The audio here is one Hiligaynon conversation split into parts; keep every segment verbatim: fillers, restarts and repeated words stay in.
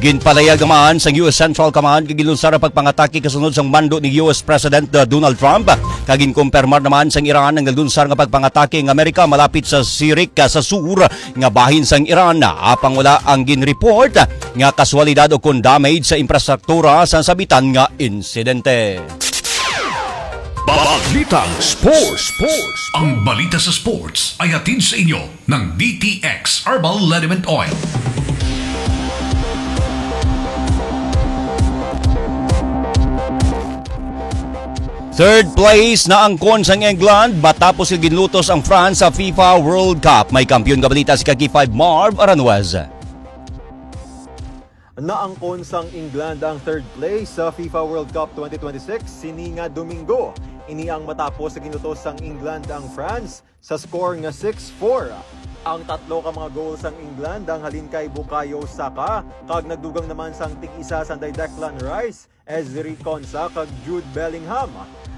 Ginpalayag naman sang U S Central Command nga ginlunsar ang pagpangatake kasunod sang mando ni U S President, uh, Donald Trump, kag ginkumpirmar naman sang Iran ang naglunsar nga pagpangatake ang Amerika malapit sa Sirik, uh, sa sur nga bahin sang Iran. Apang wala ang ginreport nga kaswalidad o kon damage sa infrastruktura sa nasabitan nga insidente. Balitang Sports. Sports. Ang balita sa sports ay hatid sa inyo ng D T X Herbal Liniment Oil. Third place na ang kon sang England matapos nga ginlutos ang France sa FIFA World Cup. May kampiyon nga balita si Kaki five Marv Aranjuez. Naangkon sang England ang third place sa FIFA World Cup twenty twenty-six sini nga Domingo. Ini ang matapos sa ginutos sang England ang France sa score nga six four. Ang tatlo ka mga goal sang England ang halin kay Bukayo Saka kag nagdugang naman sang tig-isa sanday Declan Rice, Ezri Konsa kag Jude Bellingham.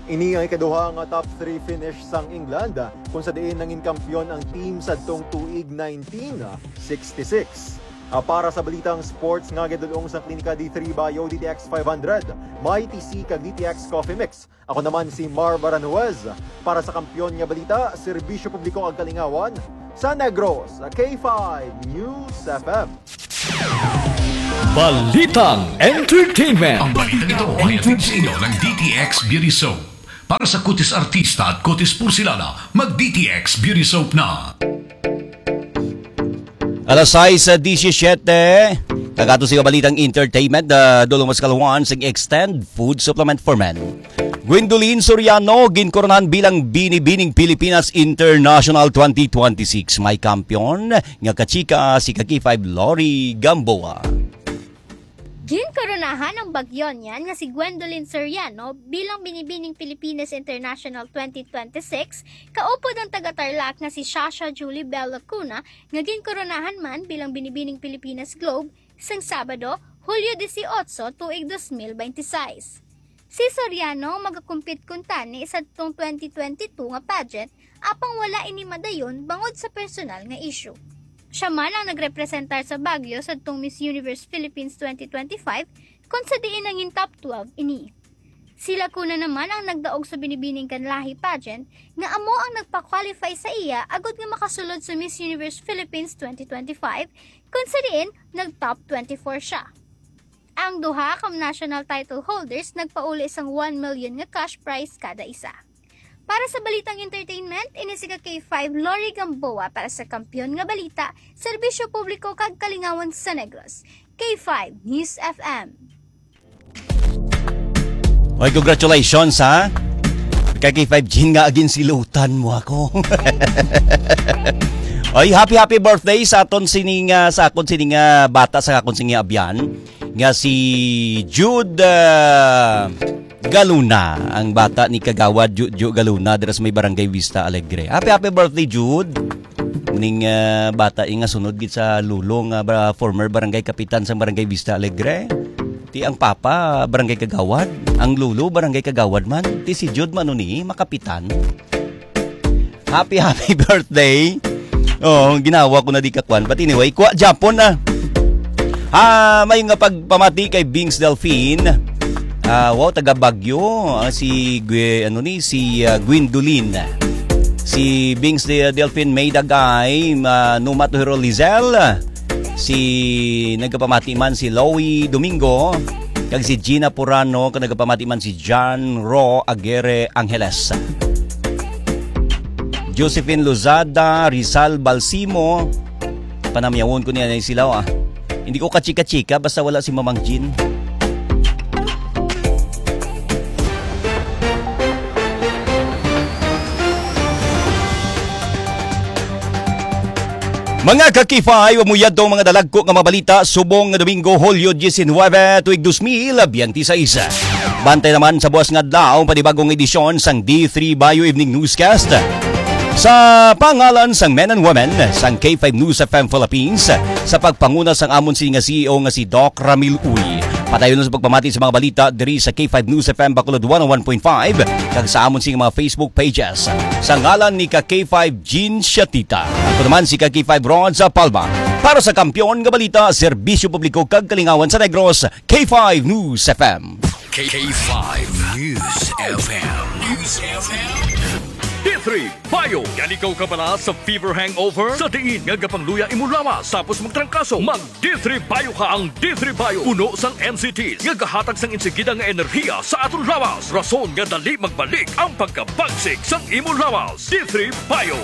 Ini ang ikaduha nga top three finish sang England, kung sa diin nangin kampiyon ang team sadtong tuig nineteen sixty-six. Ah, para sa balitang sports nga gidulong sa Klinika D three Bio, D T X five hundred, Mighty C kag D T X Coffee Mix. Ako naman si Marv Aranjuez para sa Kampiyon nga Balita, Serbisyo Publiko kag Kalingawan sa Negros, K five News F M. Balitang Entertainment. Ang balitang ito ay hatid sa inyo ng D T X Beauty Soap. Para sa kutis artista at kutis porselana, mag D T X Beauty Soap na. Alas sais sa disisiyete, kag ato sa balitang entertainment, ah, dulong mas kaluhan sa Extend Food Supplement for Men. Gwendolyn Soriano ginkoronahan bilang Binibining Pilipinas International twenty twenty-six. May kampiyon nga kachika si Kaki five Lori Gamboa. Ginkoronahan ang bagyo niyan nga si Gwendolyn Soriano bilang Binibining Pilipinas International twenty twenty-six, kaupod ang taga-Tarlac nga si Shasha Julie Bell Lacuna, nga ginkoronahan man bilang Binibining Pilipinas Globe sang Sabado, Hulyo dieciocho, tuig dos mil beintiseis. Si Soriano magakumpit kuntani sadtong twenty twenty-two nga pageant, apang wala ini madayon bangod sa personal nga issue. Siya man ang nagrepresentar sa Baguio sadtong Miss Universe Philippines twenty twenty-five, kung sa diin nangin top twelve ini. Si Lacuna naman ang nagdaog sa Binibining Kanlahi pageant nga amo ang nagpa-qualify sa iya agud nga makasulod sa Miss Universe Philippines twenty twenty-five, kung sa diin nag-top twenty-four siya. Ang duha ka national title holders nagpauli sang one million nga cash prize kada isa. Para sa balitang entertainment, ini si ka K five Lori Gamboa para sa Kampiyon nga Balita, Serbisyo Publiko kag Kalingawan sa Negros. K five News F M. Oy, congratulations, ha? Kay K five Jean nga, agin silutan mo ako. Oy, happy, happy birthday sa aton sining, ah, sa akon sining, ah, bata sa akon sining abyan nga si Jude, ah, Galuna, ang bata ni Kagawad Ju-, Ju Galuna, dira sa may Barangay Vista Alegre. Happy, happy birthday, Jude. Ning, ah, bata, eh, nga sunod gid sa lolo nga ba-, former barangay kapitan sa Barangay Vista Alegre. Ti ang papa, barangay kagawad. Ang lolo, barangay kagawad man. Ti si Jude man ni, makapitan. Happy, happy birthday. Oh, ginawa ko na di kakwan. But anyway, kuha Japon na. Ah, may nga pagpamati kay Bings Delfin. Ah, wow, taga Baguio. Ah, si Gwe-, ano ni, si, ah, Gwendolyn. Si Bings De-, Delfin May Dagay, ma-, Numa Tuhiro Lizel. Si nagapamati man si Loie Domingo. Kag si Gina Purano, kag nagapamati man si John Ro Aguirre Angeles. Josephine Lozada, Rizal Balsimo. Panamyawon ko niya na sila, ah. Hindi ko kachika-chika basta wala si Mamang Jean. Mga ka-K five, amo yadto ang mga dalagko nga mga balita subong nga Domingo, Hulyo diecinuebe, tuig dos mil biyente seis. Bantay naman sa buas nga adlaw ang panibagong edisyon sang D three Bio Evening Newscast. Sa pangalan sang men and women sang K five News F M Philippines, sa pagpanguna sang amon sini nga C E O nga si Doc Ramil Uy, Padayon sa pagpamati sa mga balita diri sa K five News F M Bacolod one oh one point five kag sa amon sing mga Facebook pages. Sa ngalan ni ka K five Jean Shatita, ako naman si ka K five Ron sa Palma. Para sa Kampiyon nga Balita, Serbisyo Publiko kag Kalingawan sa Negros, K five News F M. K five News F M. News F M. D three Bio. Yan ikaw kabala sa fever hangover? Sa diin nga gapangluya imo lawas tapos magtrangkaso? Mag D three Bio ka. Ang D three Bio puno sang M C Ts nga gahatag sang insigida nga enerhiya sa aton lawas, rason nga dali magbalik ang pagkabagsik sang imo lawas. D three Bio.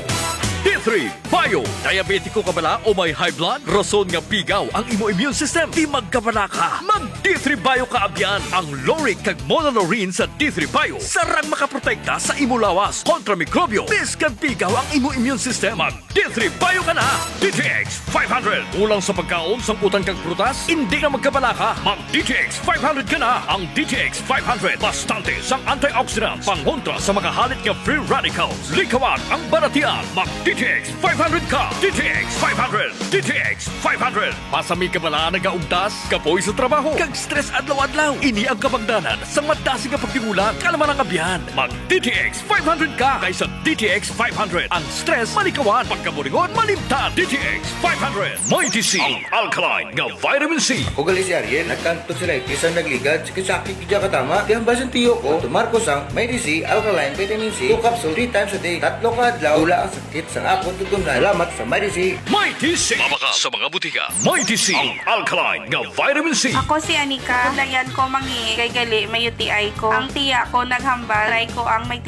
D three Bio. Diabetiko ka bala o may high blood? Rason nga pigaw ang imo immune system? Di magkabala ka. Mag D three Bio ka abyan. Ang lauric kag monolaurin sa D three Bio sarang makaprotekta sa imo lawas kontra mikrobyo. Bisan pigaw ang imo immune system, mag D three Bio ka na. D T X five hundred. Kulang sa pagkaon, sangkutan kag prutas? Indi na magkabala ka. Mag D T X five hundred ka na. Ang D T X five hundred bastante sang antioxidants pangontra sa mga halit nga free radicals. Likawan ang balatian. Mag D T X five hundred ka. D T X five hundred. D T X five hundred. Pasami ka bala nagaugtas, kapoy sa trabaho, kag stress adlaw-adlaw? Ini ang kabangdanan sang madasig nga pagtingulan, kalma lang abyan. Mag D T X five hundred ka, kay sa D T X five hundred ang stress malikawan, pagkaburingon malimtan. D T X five hundred. Mighty C, ang alkaline nga vitamin C. Ako gali si Ariel, nagkang tonsillitis ang nagligad, sakit-sakit gid katama. Di hambal sang tiyo ko, tumar ko sang Mighty C alkaline vitamin C, two capsule, three times a day, tatlo ka adlaw, wala ang sakit sang akon tutunlan. Salamat sa Mighty C. Mighty C. Mabakal sa mga butika. Mighty C, ang alkaline nga vitamin C. Ako si Anika. Layan ko mangi kay gali may U T I ko. Ang tiya ko naghambal, try ko ang may